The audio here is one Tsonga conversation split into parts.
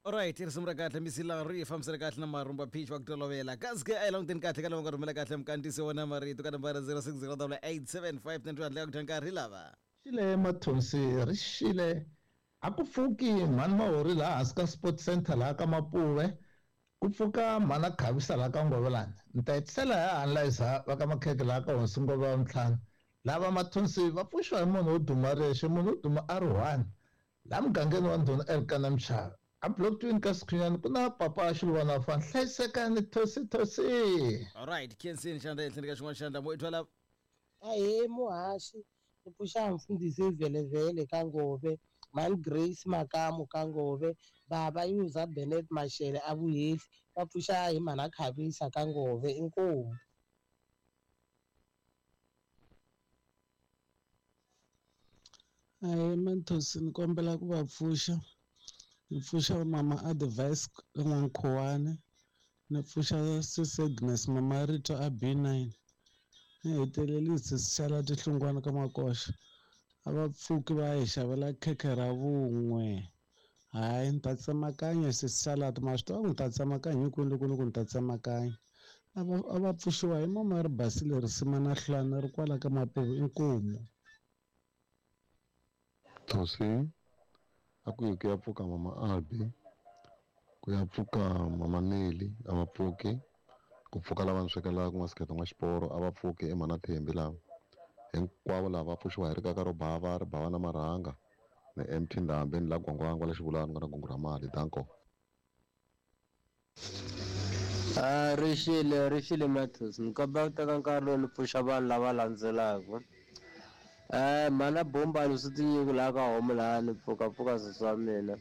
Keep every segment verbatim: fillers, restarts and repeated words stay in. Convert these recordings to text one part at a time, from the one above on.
Alright, risimu ra kahle misila ri fambisana kahle na marumba pitch wa ku tolovela. Kasi ke a hi languteni kahle ka lava nga rhumela kahle mukantisi wona marito ka nambara zero six zero double eight seven five nine two handle ka ku dya nkarhi lava. Xile Mathonsi ri xile a ku pfuki mhani Mahori laha hansi ka Sport Center laha ka Mapuve ku pfuka mhana Khavisa laha ka Ngovelani ni ta hetisela hi analyzer va ka Makhekhe laha ka Hosi Ngove wa Ntlhanu lava Mathonsi va pfuxiwa hi munhu wo duma rexe munhu wo duma a ri one laha mugangeni wa Ndhuna Elkana Mchava a block twin ka Sikhunyani ku na papa Xiluvana fa hlayisekani thosi thosi. Alright, Kensini xandla ehenhleni ka xin'wana xandla mo i twala. Ahee muhaxi ni pfuxa mfundhisi Velevele ka Ngove Mhani Grace Makamu ka Ngove baba Yuza Bennett Mashele a Vuhehli va pfuxa hi mhana Khavisa ka Ngove inkomu. Ahee Mathonsi ni kombela ku va pfuxa ni pfuxa mama Advice ka N'wankhuwani ni pfuxa sis Agnes mama Rito a B nine ni hetelelise sala tihlungwana ka Makoxa a va pfuki va hi xavela khekhe ra vun'we hayi ni ta tsemakanya sis Salad ma swi tiva ku ni ta tsemakanya hinkwenu loko ni ku ni ta tsemakanya a va a va pfuxiwa hi mama ri basile risima na hlwana ri kwala ka Mapuve inkomu. Thosi a ku yi ku ya pfuka mama Albi ku ya pfuka mama Neli a va pfuki ku pfuka lava ni swekelaka ku nga siketa n'wa xiporo a va pfuki i mhana Thembi lava hinkwavo lava va pfuxiwa hi rikaka ro bava ri bava na marhanga ni M T Ndhambi ni la Gwangwangwa la Xivulani nga na gungu ra mali danko. A ri xile ri xile Mathonsi ni kombela ku teka nkarhi lowu ni pfuxa vanhu lava landzelaka. Eh mhana Bombani swi tinyiki laha ka homu laha ni pfuka pfuka sesi wa mina.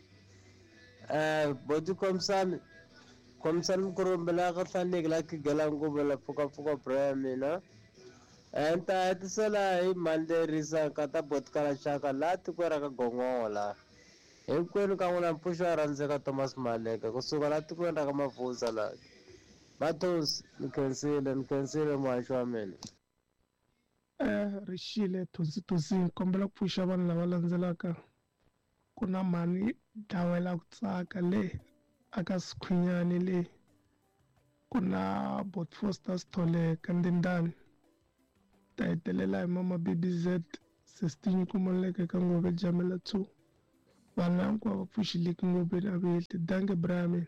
Eh boti khomisani khomisani Mukurumbi laha ka Hlaneki laha khigela nguvu la pfuka pfuka bra ya mina. Eh ni ta hetisela hi mhani lerisa nkata boti kala xaka laha tikweni ra ka Gongola. Hinkwenu ka n'wina mpfuxo wa rhandzeka Thomas Maleka kusuka laha tikweni ra ka Mavhunza laha. Mathonsi ni khensile ni khensile muhaxi wa mina. Eh rixile Thonsi Thonsi ni kombela ku pfuxa vanhu lava landzelaka ku na mhani dlawela ku tsaka le aka Sikhunyani le ku na Bot Foster Sithole ka Ndindani ta hetelela hi mama B B Z Sestinyi Kumoleke ka Ngove Jamela two vanhu hinkwavo va pfuxileki Ngoveni a Vuhehli danke bra mina.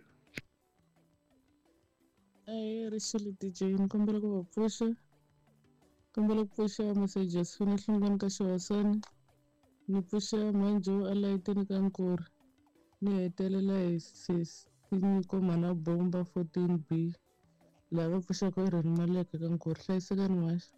Ahee rixile D J ni kombela ku va pfuxa kombela ku pfuxa Mese Josephine Hlungwani ka Xihosani ni pfuxa Manjo a layitini ka Nkuri ni hetelela hi sis Tinyiko mhana Bomba fourteen B laha va pfuxaka i Reni Maleke ka Nkuri hlayisekani muhaxi.